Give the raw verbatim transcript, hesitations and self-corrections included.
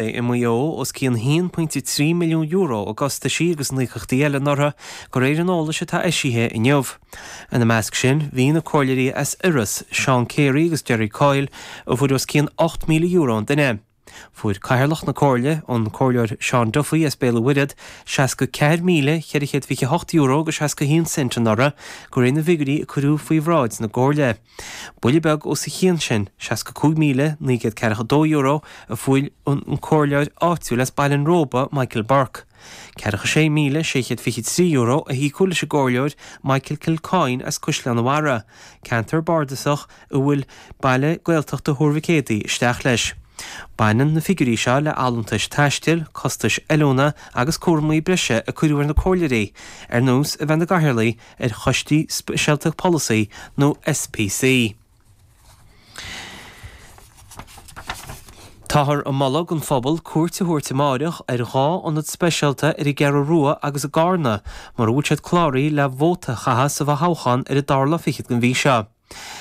I Maigh Eo os cionn haon pointe trí milliún euro i gcostaisí agus in íocaíochtaí eile anuraidh, de réir an eolais atá eisithe inniu. Ina measc sin bhí na comhairleoirí as Iorras, Seán Carey agus Gerry Coyle, a fuair os cionn ocht míle euro an duine. Fuair cathaoirleach na comhairle, an Comhairleoir Seán Duffy as Béal an Mhuirthead, seasca ceathair míle ceithre chéad fiche hocht euro agus seasca haon cent anuraidh, de réir na bhfigiúirí a cuireadh faoi bhráid na gcomhairle. Buille beag os a chionn sin, seasca cúig míle naoi gcéad ceathracha dó euro, a fuair an comhairleoir áitiúil as Baile an Róba, Michael Burke. Ceathracha sé míle sé chéad fiche trí euro a híocadh leis an gcomhairleoir Michael Kilcoyne as Caisleán an Bharraigh, ceantar bardasach a bhfuil baile Gaeltachta Thuar Mhic Éadaigh isteach leis. Baineann na figiúirí seo le allúntais taistil, costais oiliúna agus cúraimí breise a cuireadh ar na comhairleoirí, ar nós a bheith ina gcathaoirligh ar choistí speisialta polasaí nó SPC. Táthar ag moladh don phobal cuairt a thabhairt amáireach ar dhá ionad speisialta ar an gCeathrú Rua agus i gCarna mura bhfuil siad cláraithe le vóta a chaitheamh sa bhfothoghchán ar an dara lá fichead den mhí seo.